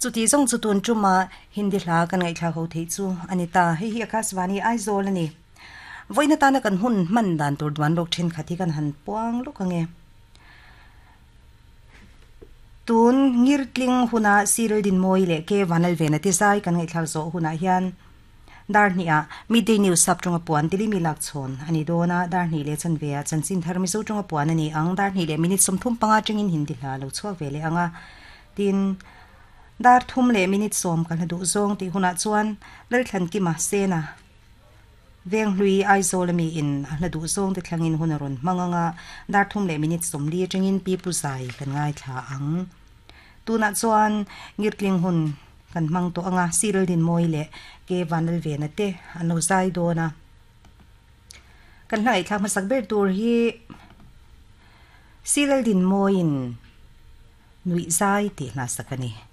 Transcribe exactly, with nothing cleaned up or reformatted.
Chuti zawng chu tun tuma Hindi hla kan ngaihthlak ho theih chu a ni ta. Hei hi Akashvani Aizawl a ni. Vawiin atana kan hun hman dan tur duan lawk thenkhat hi kan han puang lawk ang e. Tun ngirtling huna Cyril Dinmawi leh K Vanlalvena te zai kan ngaihthlak zawh hunah hian dar hnih-ah Midday News sap tawnga puan Tilimi lak chhawn a ni dawn a, dar hnih leh chanve ah chanchin thar Mizo tawnga puan a ni ang, dar hnih leh minute sawmthum panga tangin Hindi hla lo chhuak ve leh ang a, tin dar thum leh minute sawm ka hla duh zawng tih hunah chuan Lalthlankima Sena Venghlui Aizawl ami in a hla duh zawng te thlangin hun a rawn hmang ang a, dar thum leh minute sawmli atangin Pi Pu Zai kan ngaithla ang. Tunah chuan ngirtling hun kan hmang tawh ang a, Cyril Dinmawi leh K Vanlalvena te an lo zai dawn a. Kan hla ngaihthlak hmasak ber tur hi Cyril Dinmawiin Nuih Zai tih hla sak a ni.